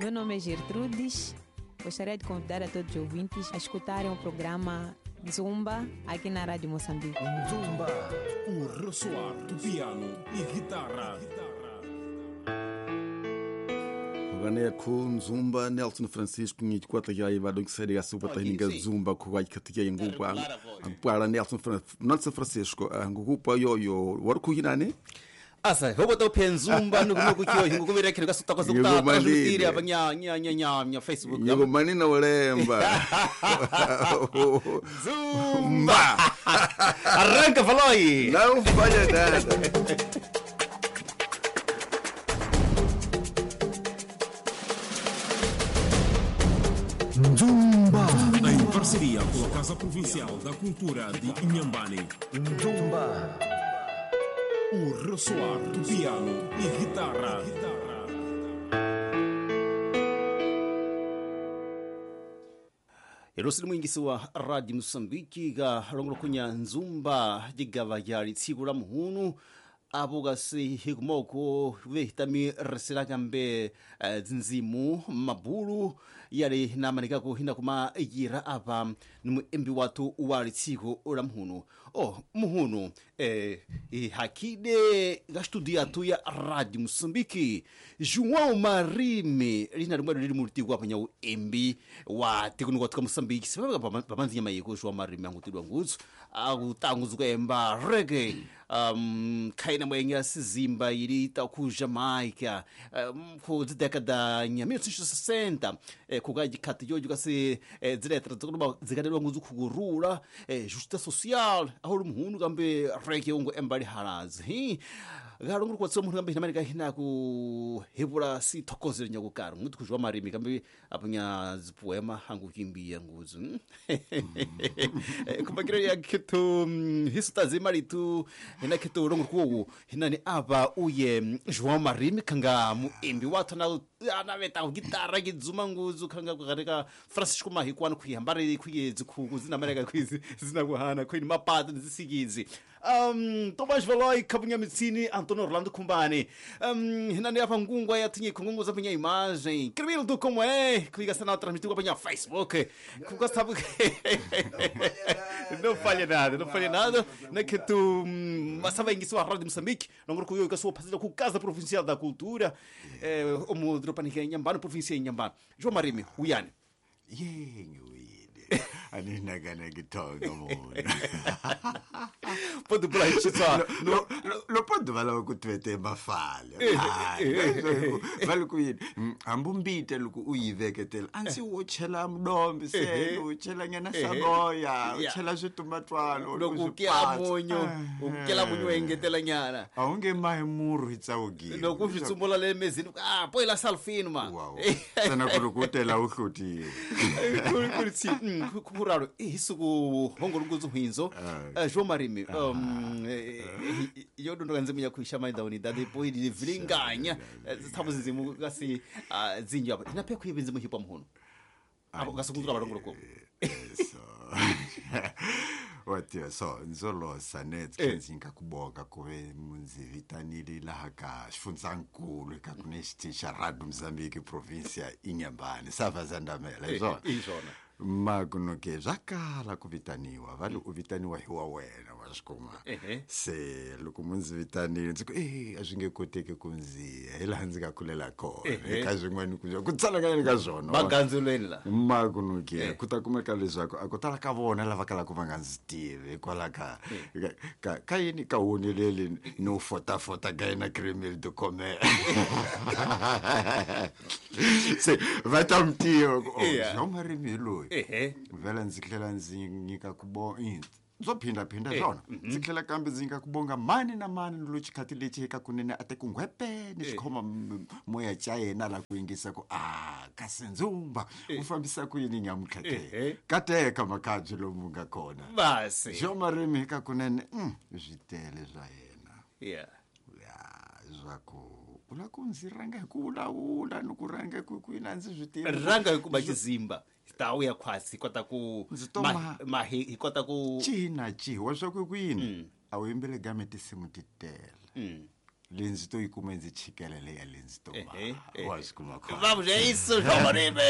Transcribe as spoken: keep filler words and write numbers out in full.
Meu nome é Gertrudes. Gostaria de convidar a todos os ouvintes a escutarem o programa Zumba aqui na Rádio Moçambique. Zumba, o ressoar do piano e guitarra. Gane ku Zumba Nelson Francisco ni kwata ya iba do que seria supa tahinga Zumba ku vai katia ngupa para Nelson Nelson Francisco ngupa yo yo warku hinane asa hobo to Zumba nuku kiyo nguku vira kile kasuta kwa suta transmitiri apa nya nya nya nya nya Facebook nyego manina olemba Zumba arranca faloi não falha nada. Zumba em parceria com a Casa Provincial da Cultura de Inhambane. Zumba, o ressoar do piano e guitarra. Erosili mwingisi wa Radio Moçambique ga longolokunya Nzumba digava ya litsiku la muhunu apo kasi hikumoko vehitami resilakambe dzinzimu mabulu yali namanikako hina kuma yira apa nimuembi watu wa litsiku la muhunu. Oh, muhunu eh, hakide ga studio yatu ya Radio Moçambique João Marime lina limwe lili mulitiku apa nyau embi wa tikunuka tuka Moçambique sipapa pamanzinya mayiko João Marime angutidwa ngutsu akutanguzuka emba reggae um, kaina mwenga sizimba ili ku Jamaica um, ku década ya mil novecentos e sessenta eh, kukajikati jojo kasi eh, ziletra zikuba zikadelwa nguzu kugurula eh, justiça social aho muhunu kambe reggae ungo embali halazi hi galonguru kwa tsomu kambe hinamalika hina ku hebula si thokozele nyakukaro nguti kujwa Marimi kambe apunya zipoema hangu kimbia nguzu kumbakira ya kitu hisutazimali tu hina kitu longuru kuwo hinani apa uye João Marimi kanga muimbi wathu na anaveta gitara kidzuma nguzu kanga kukareka Francisco Mahikwana kuihambare kuye zikhuku zinamaleka kwizi zinakuhana kwini mapata nzisikizi um Tomás Valoi kabunya mitsini Antônio Orlando Kumbani um hinani apa ngungwa yatinye kungungu zapinya imagem Cremildo como é clica sinal transmitiu para Facebook kugastabu não falha nada não falha nada né que tu masava ingiso a Rádio Moçambique não kuyo ka sua parceria com Casa Provincial da Cultura eh omo dropanika Inhambane província Inhambane João Marimi uyani yenguide aninagana gitonga mona Pode blanchisa no lo podo vala ku twete mafale vale ku yini ambumbite luku uyiveketela ansi wo chela mdombi se u chela nyana saboya u chela switumatwalo loku kela munyu ukela munyu engetela nyana awunge mai muru hitsawugile loku switsumbola le mezini ah poila salfino ma sana kulukutela uhlutiwe kulitsi kuralo isuku hongolunguzu hwinzo João Marimi um yo ndo nzimu yakuisha maida unidade depois de vilinganya thabu nzimu kasi zinyo apa inape kuyibe nzimu hipa muhono apo kasukuzura balongoloko so wathi so nzolo sanet kenzinka kuboka kuve munzi vitanile laha ka xifundzankulu ka kunexitixa Radio Moçambique província Inhambane sava zandamela izona izona makunoke zvakala kuvitaniwa vale u vitaniwa hi wa wena wa xikuma se loko mundzi vitanile ndzi ku e a swi nge koteki ku ndziya hi laha ndzi nga kulela kona eka swin'wana ku ku tsalanganyeni ka swona magandzelweni la makunoke ku ta kumeka leswaku a ku tala ka vona lava kalaka va nga ndzi tivi hikwalaho ka ka ka yini ka woneleli no fotafota ka yena cremel de commer se va ta mi tiva ku João Marimi hi loyi vhela ndzi tlhela ndzi nyika ku bo ndzo phindaphinda swona ndzi tlhela kambe ndzi nyika ku bonga mani na mani lo xikhathi lexi eka kunene a te ku nghwepe ni xikhoma moya xa yena la ku yingisa ku a kasi Nzumba u fambisa ku yini nyamuntlha ke kateka makabyi lomu nga kona basi João Marimi eka kunene swi tele swa yena yeah ya swa ku u la ku ndzi rhanga hi ku vulavula ni ku rhanga ku ku yini a ndzi swi tivi rhanga hi ku ba xizimba tawu ya khwasi kota ku ma, ma hi kota ku cina ciwa swa ku ku yini a wu yimbele game tinsimu ti tele Leyi ndzi to yi kuma ndzi chikela leya leyi ndzi to Ehe, wa swi kuma khona. Vamos, é isso, João Maribe!